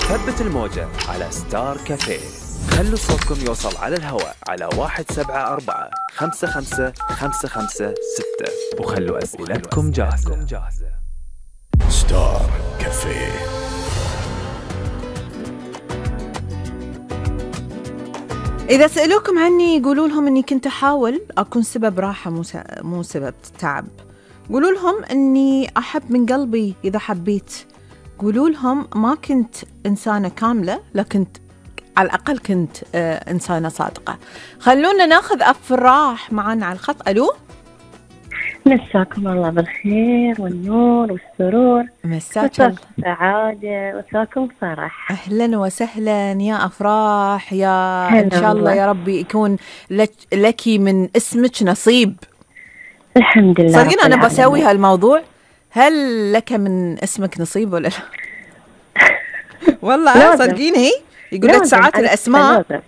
ثبت الموجة على ستار كافيه. خلوا صوتكم يوصل على الهواء على 174-55-556 وخلوا أسئلتكم جاهزة. ستار كافيه. إذا سألوكم عني قولوا لهم أني كنت أحاول أكون سبب راحة مو سبب تعب. قولوا لهم أني أحب من قلبي إذا حبيت. قولوا لهم ما كنت إنسانة كاملة لكن على الأقل كنت إنسانة صادقة. خلونا ناخذ أفراح معنا على الخط. ألو، مساكم الله بالخير والنور والسرور، مساكم السعادة، مساكم فرح. أهلا وسهلا يا أفراح، يا هلا إن شاء الله يا ربي يكون لك من اسمك نصيب. الحمد لله. صدقين أنا بسوي هالموضوع، هل لك من اسمك نصيب ولا لا؟ والله صدقيني يقول لك ساعات الأسماء